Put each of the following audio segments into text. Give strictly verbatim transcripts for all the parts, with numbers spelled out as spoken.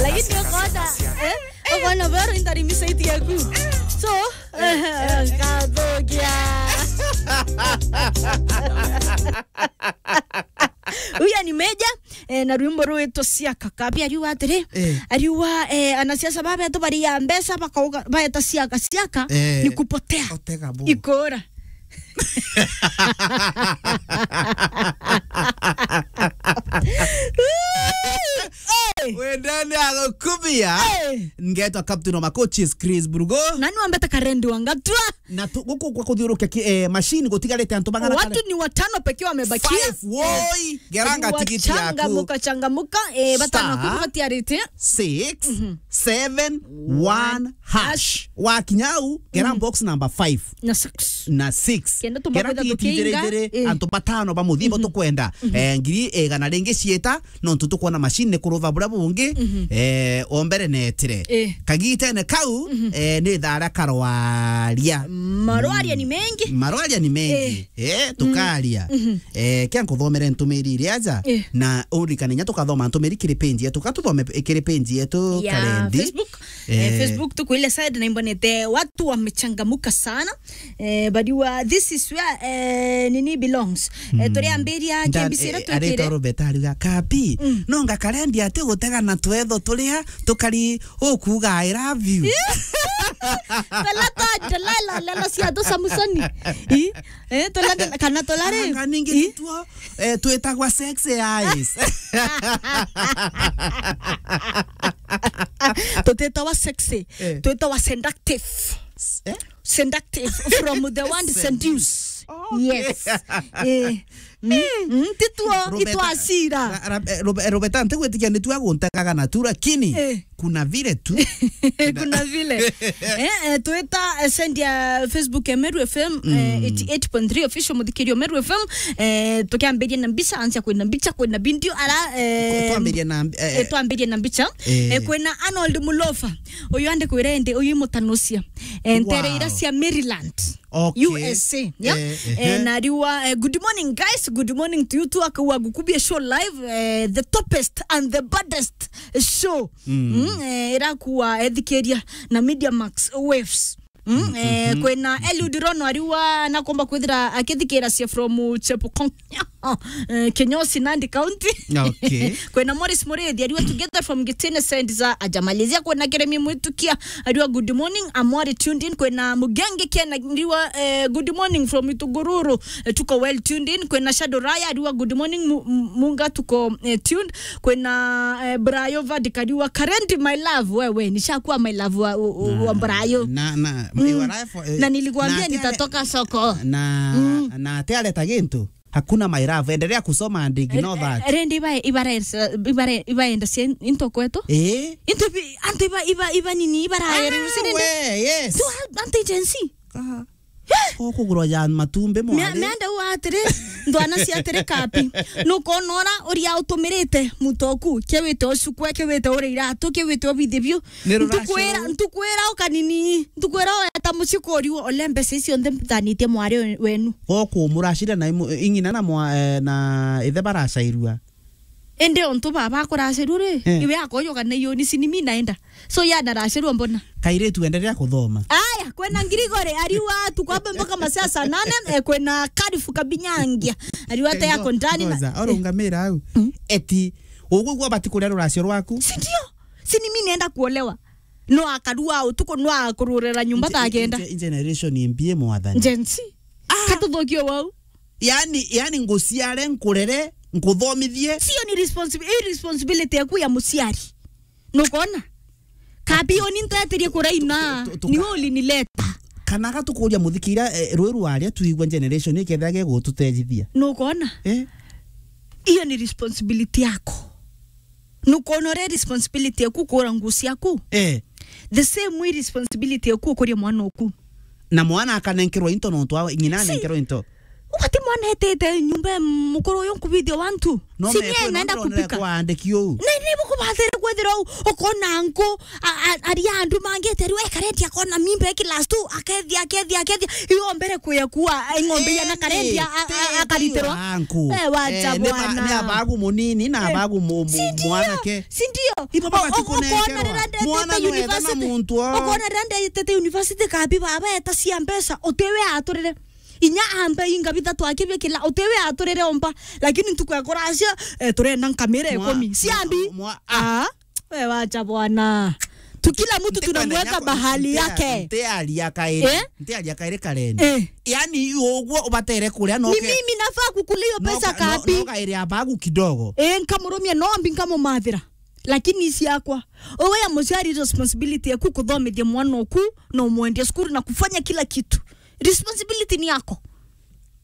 Lakini ukoona, eh? Ukoona bero intarimisa iti yaku. So, eh, ngathukia. Uyu ni Meja, eh, na rwimbo rwitwa Siaka. Kabi ariuga atiri, eh, ariuga, eh, anasiasa babetu baria mbeca bakauga, baeta siaka, siaka, eh, ni kupotea. Otega bu. Ikora. Hey! Wendene agukubia. Hey! Ngetwa Captain wa Makochis, Chris Burugo. Na ni wambete Karendi wa Ngatua. Na tu-, guku kwa kuthiurukia ki-, eh, machine gutigarite antu bang'ana. Watu kare ni watano pekee wamebakia. Five, woi, geranga tigiti yaku. Changamuka, changamuka, eh, batano. Star kuru batiarite. Six, mhm, seven, one, hash. Hash. Wakinya au, gera, mhm, box number five. Na six. Na six. Kenda tumba gera kwenda tigiti tukiinga, ithiri, eh, antu batano ba muthibo, mhm, tukwenda. Mhm. Eh, ngiri igana ringi ciita, nontu tukwona machine ni kuruva buria bungi, mhm, eh, o mbere netire. Eh. Kagitene kau, mhm, eh, ni thaa ria karwaria. Marwaria ni mengi. Marwaria ni mengi. Eh. Eh, tukaria. Mhm. Eh, kia nkuthomere ntumiri iria aja, eh, na urikane nya tukathoma ntumiri kiri page yetu, ka tuthome kiri page yetu ya Karendi. Facebook. Eh, eh, Facebook tuko ile side na imbonete watu wamechangamuka sana. Eh, bariwa, this is where, eh, nini belongs. Eh, mm, turiambiria K B C ira, eh, twikire. Aretwa Robert ariuga, "Kapi, mm, nonga Karendi ati gutega na twetho turia tukari ukuga, 'I love you.'" Tala ta Delilah, lelo cia tu Samsoni. I? Eh, tala, tala, kana tala ri? Anga ningi i? Tuo, eh, twitagwa sexy eyes. Tutitagwa sexy. Eh. Twitagwa seductive. Eh? Seductive from the word seduce. Seduce. Oh, okay. Yes. Eh. Mm. Mm, tituo, Robert, itwacira. Ra-, ra-, eh, Robe-, eh, Robert, ntigwitikia ni tu aguntegaga na tu, lakini, eh, kuna vile tu. Kuna vile. Eh, eh, twita, eh, send ya Facebook ya Meru F M, eh, mm, eighty eight point three official muthikirio Meru F M, eh, tukiambiria na mbicha, ansia kwina mbicha, kwina video, ara, eh, twambirie na, eh, eh, twambirie na mbicha. Eh. Eh, kwina Arnold Mulofa, uyu andi kwira indi, uyu imutanucia. Eh, ntere ira cia Maryland. Okay. U S A, yeah? Eh, eh, eh, na ariwa, eh, good morning, guys. Good morning to you too. Akawa gukubia show live, eh, the toppest and the baddest show. Mm. Mm, eh, irakuwa ethikiria na Media Max Waves. Mm, mm, eh, mhm, kwina Eliud Rono ariwa nakomba kwithira akithikira cia from Chepukong. Eh, Kinyosi, Nandi County. Okay. Kwina Morris Murithi, ariwa together from Gitine Saint za ajamalizia. Kwina Keremi Mwitukia, ariwa good morning, I'm well tuned in. Kwina Mugenge Ken, ariwa, eh, good morning from Itugururu, eh, tuko well tuned in. Kwina Shadow Raya, ariwa good morning, Mu-, Mu-, Munga, tuko, eh, tuned. Kwina, eh, Brayo Vadika, ariwa Karendi my love, wewe, nishakuwa my love wa, wa, wa Brayo. Na, na, mm, eh, na nilikuambia nitatoka soko. Na, mm, na ate areta gintu. Hakuna my love. Endelea kusoma and ignore that. Eh, eh, rendi iba, ibare-, ibare-, ibaenda cia into kwetu. Eh? Into bi-, antu iba, iba, iba nini, ibaraere, ah, si nende? We, yes. Tu, antu Gen Z. Ah. Eh? Ko kugurwa ya matumbi mwari. Mea-, meanda u atiri, ndwana cia atiri kapi. Nukonora uria utumirite mutoku, kiwite ucukwe, kiwite ure iratu, kiwite ubithe biu. Ntukwira, ntukwira ukanini, ntukwira oeta mucii kuriu, ole mbeca icio nthe mbithanitie mwari we-, wenu. Okumuracira na imu-, ing'ina na mwa-, eh, na ithe baracairua. Indi ontu baba akuracirua ri, eh, iwe akoyuka na iyo ni sinimi naenda. So ya naracirua mbona? Kairitu endelea kuthoma. Aya, kwena Ngirigore, ariwa tukwambe mpaka masaa saa nane, eh, kwena Karifu Kabinyangia. Ariwa te yako ndani na. Ngoza, orungamira au. Mm. Eti, ugwigua bati kuria ruracio rwaku? Si ndio? Si ni mimi naenda kuolewa. No akarua utuku, no akururira nyumba ta kenda. Nge-, nge-, generation impie mwathani. Gen Z. Ah! Katuthukie wau. Yani, yani nguciare, nkurere, nkuthomithie. Sio ni responsibi-, hii responsibility yaku ya muciari. Nukona? Kabi oni ntetirie kuraina, tu-, tu-, tuka-, ni uli ni leta. Kana gatukuria muthikira, eh, rwiru aria tuigua generation ikethira gegututejithia. Nukona? Eh? Iyo ni responsibility yako. Nukwona uria responsibility yaku kuura nguo ciaku? Eh. The same way responsibility yaku ukuria mwana oku. Na mwana akanenkerwa into nontu wa ng'ina si anenkerwa into. Ugati mwana etete nyumba ya mukuru uyu nkubithia wantu. No si mekwe nie no naenda ndonere kupika. Kwaandiki uu. Na ni bukubathire Kwithirwa u-, ukona nku, a-, a-, aria andu mangite riu, e, karendi akona mimba iki last tu, akethia, akethia, akethia. Iyo mbere kuya kuwa, e, ng'ombe ya na karendi a-, a-, a-, akaritiro. Anku. Eh, wacha bwana. Ni abagu munini na abagu mu-, mu-, mwanake. Si ndio? Ibo baba tikunenkerwa. Mwana no etha na muntu o. Ukona rira ndetete university kabi baba eta cia mbeca, utiwe aturire. Inya ambe inga bithatu akibikila, utiwe aturire omba. Lakini ntuku ya kuracia, eh, turenda nkamira ikumi. Ciambi. Ah. We wacha bwana. Tu kila mtu tunamweka bahali yake. Ntiaria kairi. Eh? Ntiaria kairi Karen. Eh. Yani uguo ubatere kuria no. Ni mimi nafaa kukula hiyo pesa kapi? No kairi abagu kidogo. Eh, nkamurumia nombi nkamumathira. Lakini isi yakwa. Owe ya muciari responsibility yaku kuthomithia mwana oku na umwendia school na kufanya kila kitu. Responsibility ni yako.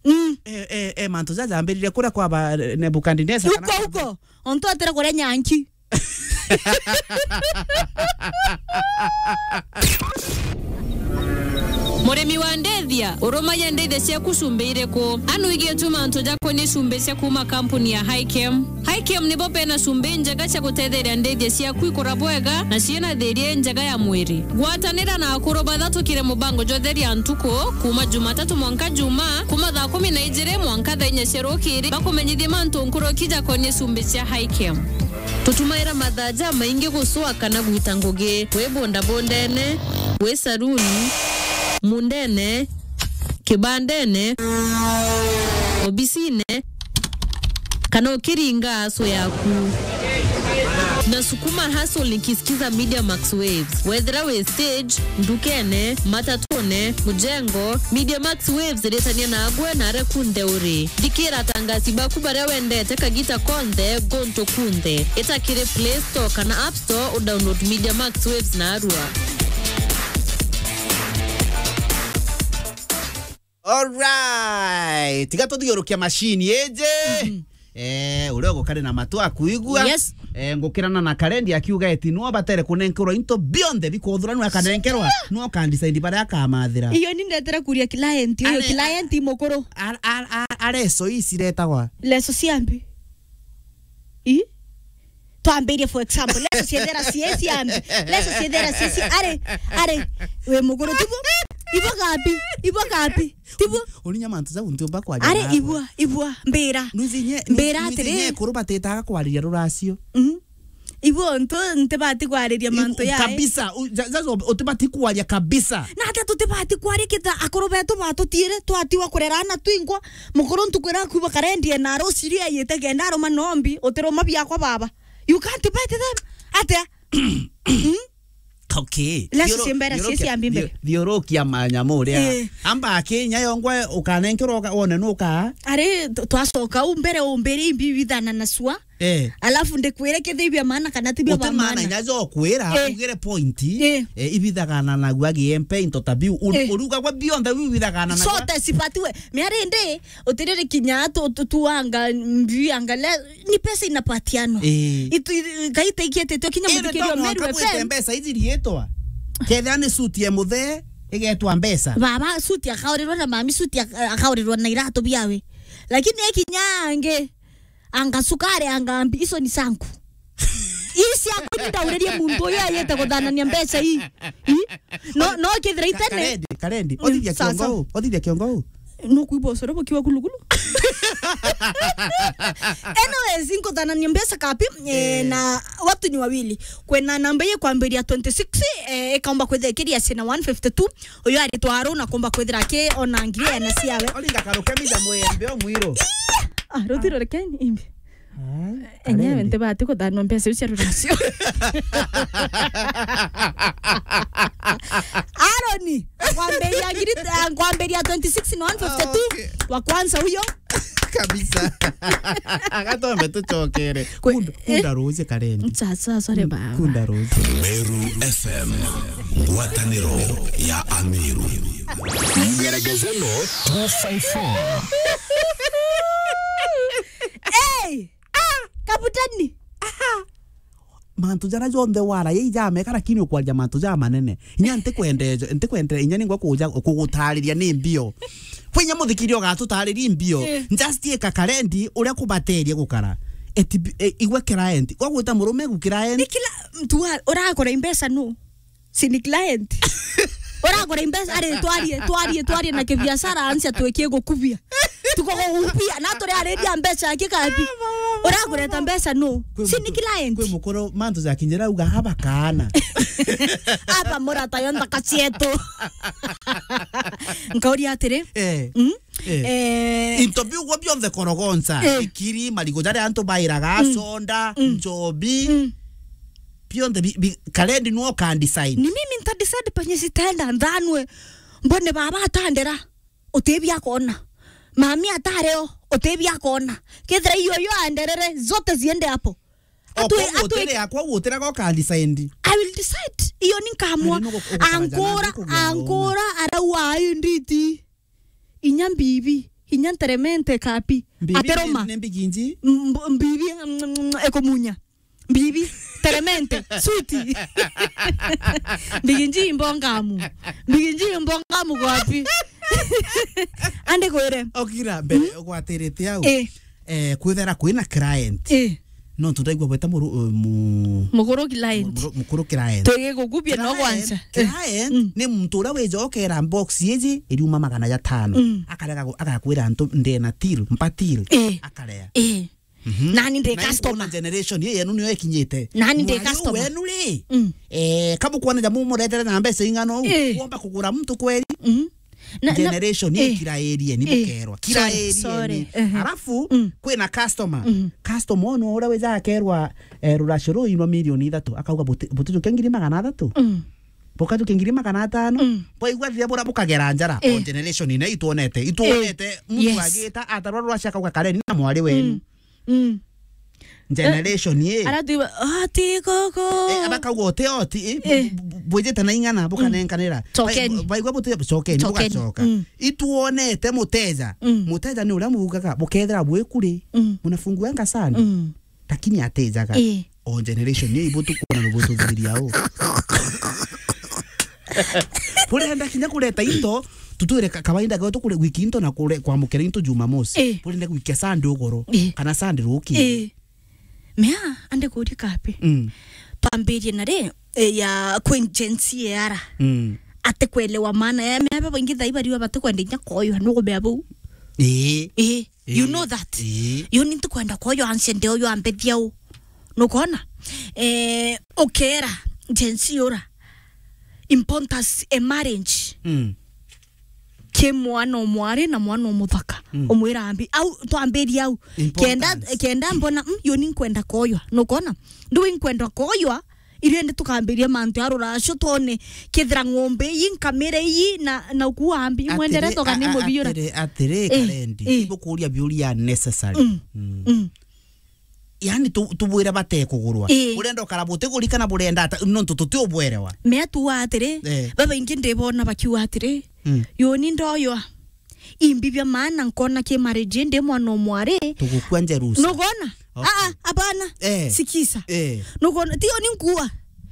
Mm. Eh, eh, eh, mantu jaja ambirire kuria kwa ba Nebukadnezar. Huko, huko. Ontu atera kuria nyanki. Murimi wa ndethia, urumagia ndethia ciaku cumbi iriku? Anu igie tu mantu jakonie cumbi cia kuma kampuni ya Highchem. Highchem nibo bena cumbi njega cia gutetheria ndethia ciaku ikura bwega na ciina thiria njega ya mwiri. Gwatanira na akuru bathatu kiri mubango jwa Theria Ntuku, kuma Jumatatu mwanka Juma, kuma thaa kumi na ijiri mwanka thaa inya cia rukiri, bakumenyithie mantu nkuruki jakonie cumbi cia Highchem. Tutumaira mathaa jamaingi gucua kana gwita ngugi, wi bundabundene, wi saruni, mundene, kibandene, obisine, kana ukiringa aso yaku. Nasukuma hustle nikisikiza Media Max Waves. Wethira wi stage, ndukene, matatune, mujengo, Media Max Waves iritania nagwe na aria kunthe uri. Thikira atangasi baku baria wendete kagita konthe, guntu kunthe. Ita kiri Play Store kana App Store udownload Media Max Waves narua. Alright. Tiga tuthiurukia machine iji. Mhm. Eh, uria ugukari na matu akuigua. Yes. Eh, ngukirana na Karendi akiuga eti no batere kunenkerwa into bionthe bikuthuraniwa akanenkerwa. Sindio? No kan decide baria akamathira. Iyo ni ndetere kuria client, uyu client mukuru. Are, are, are, are, are, so iciretagwa. Leso ciambi. I? Twambirie, for example, leso ciethera cieci ambi. Leso ciethera cieci, are, are, we muguru tibu? Ibo gapi? Ibo gapi? Tibu? Urinya mantu jau ntiumba kwaria. Are nawe. Ibua, ibua, mbira. Nuzi nye, mbira nuzi atiri nye kuru batitaga kwariria ruracio. Mhm. Ibu ntu ntibati kwariria mantu ya. Kabisa, u-, ja-, ja-, utibati kwaria kabisa. Na ata tutibati kwaria kita akuru betu batutiire, twatiwa kurera ana twingwa, mukuru ntuku iria akuba Karendi ena ruciria yite kenda aruma nombi, utiruma biakwa baba. You can't bet them. Atia? Mm? Okay. Leso thiuru-, ciembera thiurukia, cia ciambi mbere. Thiu-, thiurukia manyamu uria. Eh. Amba akinya yongwe ukanenkerwa uka-, wone nuka. Ari, tu-, twacoka u mbere umbiri imbi bithana na sua. Eh. Alafu ndikwire kithibia maana kana tibia ba maana. Uti maana inya jo kwira, eh, ugire point. Eh. Eh, ibithagana na gwa giempe into tabiu. U-, eh, uruga gwa bionthe u ibithagana na gwa. Sote sipatiwe. Miari ndi, utiriri kinya tu-, tu-, tuanga, mbianga le, ni pesa inapatianwa. Eh. Itu, i-, Ngai taikiete tio kinya. Iri muthikiri to o Meru mwanka F M. Gwite mbeca ithiriitwa. Kethira ni suti ya muthe, igetwa mbeca. Baba, suti akaurirwa na mami, suti ak-, akaurirwa na iratu biawe. Lakini ekinya angi, anga sukari, anga mbi, icio ni sanku. Ii ciakwa ni ndauririe muntu uyu ayite guthanania mbeca ii. Ii? No, no kethira itene. Karendi, Karendi, mm, othithia sawa, kiongo sawa. U, othithia kiongo u. No kuiba ucoro bukiwa kulukulu. Anyways, nkuthanania mbeca kapi, eh, eh, na watu ni wawili. Kwena namba iye kwambiria twenty-six, eh, ikaomba kwithira ikiria cina one fifty-two. Uyu aritwa Aru na kumba kwithira ki ona ngiri ena ciawe. Olinga karuke mitha mwembe o mwiru. Ah, ruthiro rekeni imbi. Ah, enyewe Karendi. Ntibati kuthanwa mbeca iu cia ruracio. Aroni, ngwambiria ngiri, ngwambiria twenty-six na one fifty-two. Ah, okay. Wa kwanza huyo. Kabisa. Agatombe tucokere. Kwe-, kunda, eh, kunda ruuji Karendi. Sasa, sorry, baba. Kunda ruuji. Meru F M, ngwataniro ya Ameru. Ngeregezeno two five four. Hey! Ah! Kabutani! Aha! Mantu jara jonthe wara ye ijameka, lakini ukwaria mantu ja manene. Inya ntikwende, ntikwende, inya ningwa kuja kugutariria ni mbio. Kwi inya muthikiri ugatutariria mbio. Eh. Just ika Karendi uria kubateria gukara. Eti bi-, e, igwe client. Wagwita murume gu client. Ni kila mtu wa-, uragura imbeca nu? Si ni client. Uragura imbeca, ari, twarie, twarie, twarie na kibiashara, ansia twikie gukubia. Tuko gukubia, na turi ariria mbeca aki kabi. Uragureta mbeca nu? Si ni client. Kwi mukuru mantu ja kinjira uga haba kaana. Aba murata yo nthaka cietu. Nkauria atiri. Eh. Mm? Eh. Eh. Into biu gwo bionthe korogonca, eh, ikiri, marigu jaria antu bairaga, mm, soda, mm, njobi, mm, bionthe bi-, bi-, karendi nuo ka design. Ni mimi nta decide penye citenda nthanwe. Mbone baba atandera, utibia kona. Mami atareo, utibia kona. Kethira iyo yo anderere, zote ziende hapo. Atwi-, atwi- Okwa gutire yakwa gutire goka decide. I will decide. Iyo ni nkamwa. Ari nugu-, ugukaja na ankura, nduku bia ankura, arauga, "Ai, nditi." Inya mbibi, inya nteremente kapi. Mbibi ateroma. Ni, ni mbiginji? Mb-, mbibi, mm, mm, ekumunya. Mbibi, teremente, switi. Mbiginji imbongamu. Mbiginji imbongamu gwapi? Ande kwire. Okira mbere, mm, ugwatirite au. Eh. Eh, kwithera kwina client. Eh. No tutaigua bweta muru-, uh, mu-, mukuru client. Muru-, mukuru client. Twigigukubia no client, gwancha. Eh. Client, mm, ni muntu uria wija okera box iji iriuma magana jatano. Mm. Akarega gu-, agakwira antu ndena till, mpa till. Eh. Akarea. Eh. Mhm. Nani ndi customer. Na ikuona generation ye yenu niyo ikinyite. Nani ndi customer. Mwari wenu ri? Mm. Eh, kamu kuona jamu muretere na mbeca ing'ana uu, eh, womba kugura muntu kweri? Mm. Na, na, generation, eh, ikirairie, ni, eh, bukerwa. Sorry, kirairie sorry. Ni. Ehe. Alafu, mm, kwina customer. Mhm. Customer ono uria wija akerwa, eh, ruracio ruu inwa milioni ithatu, akauga buti-, butijukia ngiri magana athatu? Mm. Bukajukia ngiri magana atano? Mm. Bwaigua riria bura bukagera njara, eh, o generation ina itwonete. Itwonete, eh, muntu, yes, agita, atarwa ruracio akauga kareni na mwari wenu. Mm. Mm. Generation, eh, ye. Ara twi ba-, oti gogo. Eh, abakauga oti, oti, eh, eh, bu-, bu-, bwijite na ing'ana, mm, bukanenkanira. Chokeni. Bai-, baigua buti, chokeni, chokeni, bugachoka. Mm. Ituonete muteja. Mm. Muteja ni uria mugaga, bukethira bwikuri. Mm. Munafunguanga sande. Mm. Lakini atejaga. Eh. O generation, ye ibu tukuona no bututhiria u. Burenda kinya kureta into, tutwire ka-, kawaida getu kure wiki into na kure kwamukira into Jumamosi. Eh. Burenda gwikia Sunday ugoro, eh, kana Sunday ruki. Eh. Mea, ande kuria kapi. Mm. Twambirie na ri, eh, ya kwi Gen Z era. Mm. Ate kwelewa maana ya mea, babaingi thai bariwa bate kwenda inya koyo, nukumea bau. Eh. Eh. You know that. Ii. Yo ni ntikwenda kwoyo anse nde uyo ambethia u. Nukona? Eh, ukera Gen Z ura. Importance e marriage. Mm. Ki mwana o mwari na mwana o muthaka. Mm. Umwira ambi. Au, twambirie au. Importance. Kenda, kenda mbona, mm, yo ni nkwenda koywa. Nukona? Ndu nkwenda koywa, Irio indi tukambiria mantu ya ruracio twone kethira ng'ombe ii, nkamira ii, na, na ukuambi, imwendere toga ni mubiyure. Atiri, atiri, eh, Karendi, eh, ibukuria biuria necessary. Mm. Mm. Mm. Yani tu-, tubwire batekugurwa. Eh. Urenda ukara butiguri kana burenda ata, nontu tutiubwerewa. Mea tuwa atiri, eh, babaingi ndibona bakiuga atiri, mm, yoni ndoywa. Imbi bia maana nkona ki marriage ndi mwana o mwari. Tugukua Jerusa. Nugona? Okay. Ah, ah, abana. Eh. Sikiza. Eh. Nugona, tio ni nkua.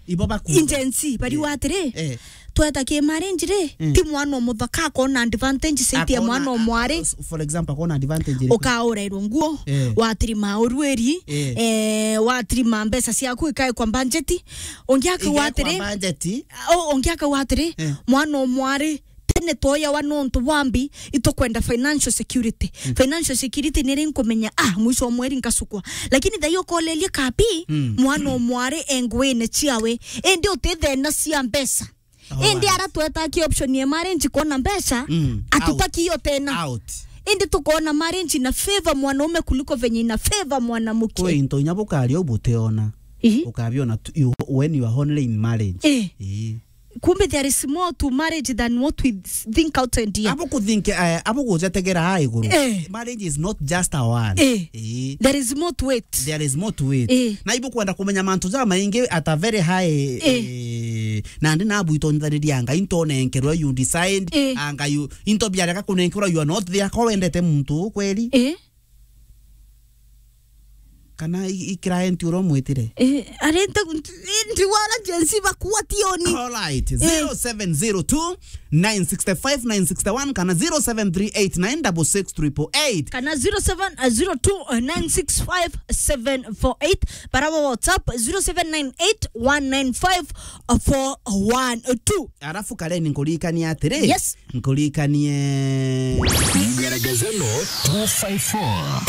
Ibo bakua. Agency, bari, eh, watiri. Eh. Tweta ki marriage ri, mm, ti mwana o muthaka akona advantage saiti ya mwana o mwari. Akona, a-, a-, for example, akona advantage iriku? Ukaurerwo nguo, eh, watirima urweri, eh, eh, watirima mbeca ciaku ikae kwa budget. Ungi akauga atiri, budget. O, ungi akauga atiri, eh, mwana o mwari, tene twoyawa nontu bwa mbi, itukwenda financial security. Mm. Financial security ni ri nkumenya, ah, mwisho wa mweri nkacukwa. Lakini thai ukoleria kabi, mm, mwana o mwari e nguine ciawe. Indi uti thena cia mbeca. Oh, indi right. Ara tweta ki option ya marriage kwona mbeca, mm, atutaki out. Iyo tena. Out. Indi tukona marriage ina favor mwanaume kuliko venye ina favor mwanamke. Kwi into inya bukaria u butiona. Ihi. Ukabiona tu, you, when you are only in marriage. Eh. Ii. Kumbe there is more to marriage than what we think out and here. Abo kuthinke, eh, abo gujetegera ha iguru. Eh. Marriage is not just a one. Eh. Eh. There is more to it. There is more to it. Eh. Na ibo kwenda kumenya mantu ja maingi at a very high, eh, eh, nandi nabu itonyithaniria anga into nenkerwa you decide, eh, anga you into biarega kunenkerwa you are not there ko wendete muntu kweli. Eh. Kana i-, i client uria umwitire? Eh, ari nti-, nti-, nti wala Gen Z bakua tioni. All right. Eh. Zero seven zero two, nine six five, nine six one kana zero seven three eight nine six six triple eight. Kana zero seven zero two nine six five seven four eight. Bara wa WhatsApp, zero seven nine eight one nine five four one two. Arafu Karen, nkuririkanie atiri. Yes. Nkuririkanie. Ngeregezeno two five four.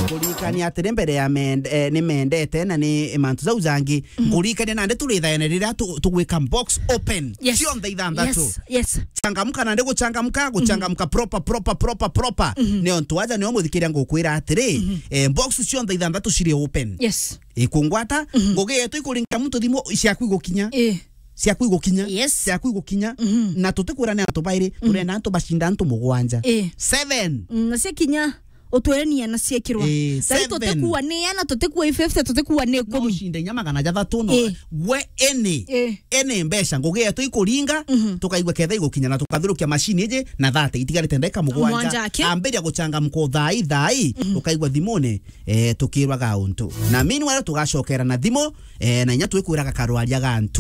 Nkuririkanie atiri mbere ya mend-, eh, ni mendete na ni mantu jau jangi. Mhm. Nkuririkanie nandi turi thaene riria tu-, tugwika box open. Yes. Cionthe ithanthatu. Yes, yes. Changamka nandi guchangamka, guchangamka proper, proper, proper, proper. Mhm. Ni ontu aja nio muthikiria ngukwira atiri, mhm, eh, box cionthe ithanthatu ciri open. Yes. Ikungwata, mhm, ngugi yetu ikuringira muntu thimu ciaku igukinya. Eh. Ciaku igukinya. Yes. Ciaku igukinya. Mhm. Na tutikwira ni antu bairi, mhm, turenda antu bacinda antu mugwanja. Eh. Seven. Mm, na ciakinya, utwire ni ana ciekirwa. Eh, thari seven. Tutikuwa ni ana, tutikuwa i fifty, tutikuwa ni no ikumi. Ucinde inya magana jathatu no. Eh. Gwe ene. Eh. Ene mbeca, ngugi yetu ikuringa, mhm, tukaigua ketha igukinya na tukathirukia machine iji na thate itigarite ndagika mugwanja. Mugwanja aki. Ambiria guchangamka thai thai, mhm, ukaigua thimune, eh, tukirwa ga untu. Na meanwhile tugacokera na thimu, eh, na inya twikwiraga karwaria ga ntuku.